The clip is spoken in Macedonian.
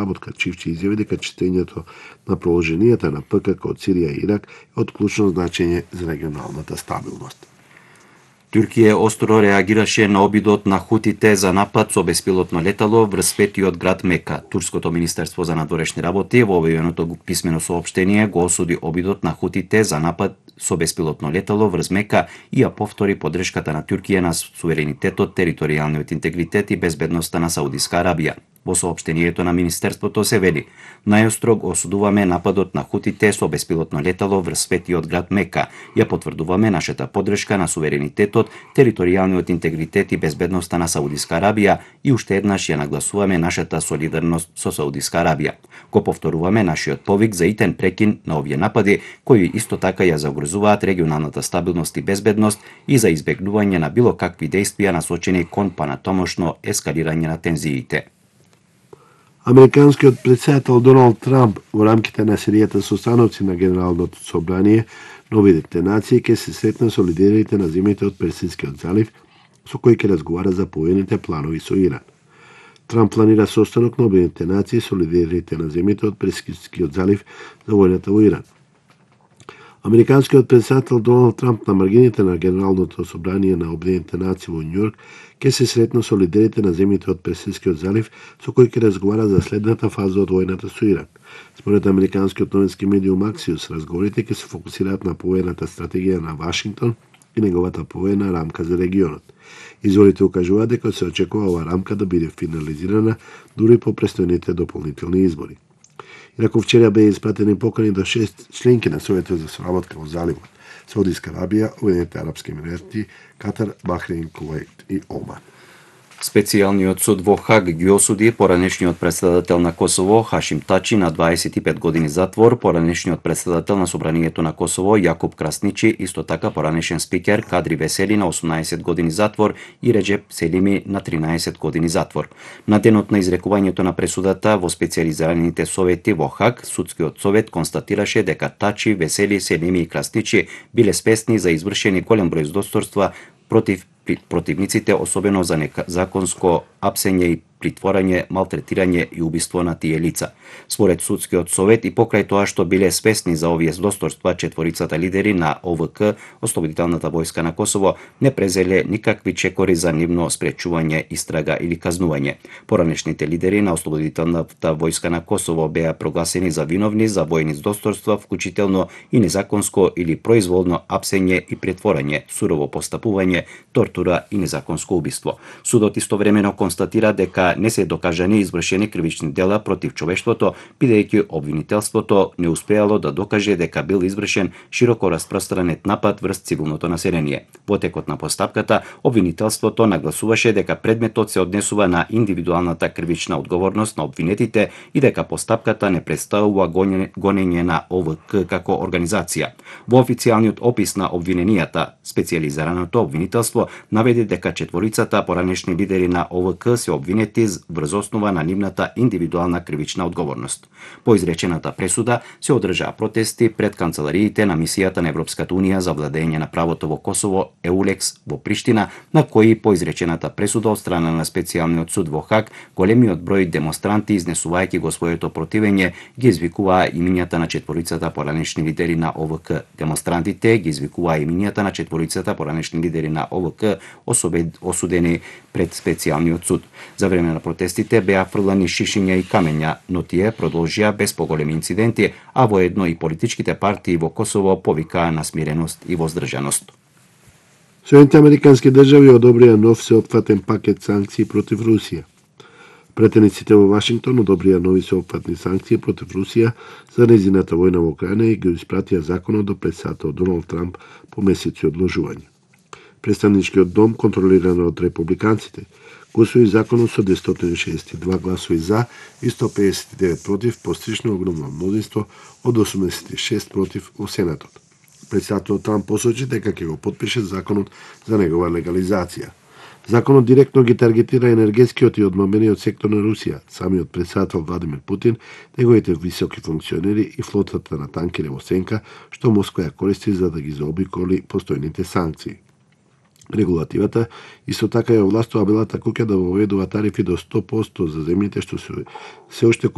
соработка. Чивчи изјави дека читењето на положенијата на ПКК од Сирија и Ирак е од клучно значење за регионалната стабилност. Туркија остро реагираше на обидот на хутите за напад со беспилотно летало врз петиот град Мека. Турското министерство за надворешни работи во објавеното писмено соопштение го осуди обидот на хутите за напад со беспилотно летало врз Мека и ја повтори поддршката на Туркија на суверенитетот, територијалниот интегритет и безбедноста на Саудиска Арабија. Во соопштението на министерството се вели: најострог осудуваме нападот на хутите со беспилотно летало врз светиот град Мека. Ја потврдуваме нашата поддршка на суверенитетот, територијалниот интегритет и безбедноста на Саудиска Арабија и уште еднаш ја нагласуваме нашата солидарност со Саудиска Арабија. Го повторуваме нашиот повик за итен прекин на овие напади, кои исто така ја загрозуваат регионалната стабилност и безбедност и за избегнување на било какви дејствија насочени кон понатомошно ескалирање на тензиите. Американскиот претседател Доналд Трамп во рамките на серијата состановци на Генералното собрание на Обединетите нации ќе се сретне со лидерите на земјите од Персискиот залив, со кои ќе разговара за поените планови со Иран. Трамп планира состанок на Обединетите нации со лидерите на земјите од Персискиот залив за војната во Иран. Американскиот претседател Доналд Трамп на маргините на Генералното собрание на Обединетите нации во Њујорк ќе се сретне со лидерите на земјите од Персискиот залив, со кои ќе разговара за следната фаза од војната со Иран. Според американскиот новински медиум Axios, разговорите ќе се фокусираат на повоената стратегија на Вашингтон и неговата повоена рамка за регионот. Изворите укажуваат дека се очекува оваа рамка да биде финализирана дури по престојните дополнителни избори. Иако вчера беа испратени покани до 6 членки на Советот за соработка во заливот: Саудиска Арабија, Уединетите арапски емирати, Катар, Бахрейн, Куваит и Оман. Специјалниот суд во Хаг ги осуди поранешниот претседател на Косово Хашим Тачи на 25 години затвор, поранешниот претседател на Собранието на Косово Јакуп Красничи, исто така поранешен спикер Кадри Весели на 18 години затвор и Реджеп Селими на 13 години затвор. На денот на изрекувањето на пресудата во специјализираните совети во Хаг, судскиот совет констатираше дека Тачи, Весели, Селими и Красничи биле спесни за извршени голем број здосторства против противниците, особено за незаконско апсење и притворање, малтретирање и убиство на тие лица. Според судскиот совет и покрај тоа што биле спесни за овие здосторства, четворицата лидери на ОВК, Ослободителната војска на Косово, не презеле никакви чекори за нивно спречување, истрага или казнување. Поранешните лидери на Ослободителната војска на Косово беа прогласени за виновни за војни здосторства, вклучително и незаконско или произволно апсење и претворање, сурово постапување, тортура и незаконско убиство. Судот истовремено констатира дека не се докажани извршени кривични дела против човештвото, бидејќи обвинителството не успеало да докаже дека бил извршен широко распространет напад врз цивилното население. Во текот на постапката, обвинителството нагласуваше дека предметот се однесува на индивидуалната кривична одговорност на обвинетите и дека постапката не представува гонење на ОВК како организација. Во официјалниот опис на обвиненијата, специјализираното обвинителство наведе дека четворицата поранешни лидери на ОВК се обвинети врз основа на нивната индивидуална кривична одговорност. По изречената пресуда се одржаа протести пред канцелариите на мисијата на Европската унија за владење на правото во Косово EULEX во Приштина, на кои по изречената пресуда од страна на специјалниот суд во Хаг, големиот број демонстранти изнесувајќи го своето противење ги извикуваа имињата на четворицата поранешни лидери на ОВК. Демонстрантите ги извикуваа имињата на четворицата поранешни лидери на ОВК, осудени пред специјалниот суд. За време на протестите беа фрлани шишиња и камења, но тие продолжија без поголеми инциденти, а воедно и политичките партии во Косово повикаа на смиреност и воздржаност. Соединените американски држави одобрија нов сеопфатен пакет санкции против Русија. Претениците во Вашингтон одобрија нови сеопфатни санкции против Русија за нејзината војна во Украина и го испратија законот до претседател Доналд Трамп по месеци одложување. Представничкиот дом, контролиран од републиканците, го усвои законот со 262 гласови за и 159 против, постигнато огромно мнозинство од 86 против во Сенатот. Претседателот Трамп посочи дека ќе го потпише законот за негова легализација. Законот директно ги таргетира енергетскиот и одмамениот сектор на Русија, самиот претседател Владимир Путин, неговите високи функционери и флотата на танкери во сенка, што Москва ја користи за да ги заобиколи постојните санкции. Регулативата исто така ја овластува Белата куќа да воведува тарифи до 100% за земјите што се уште купуваат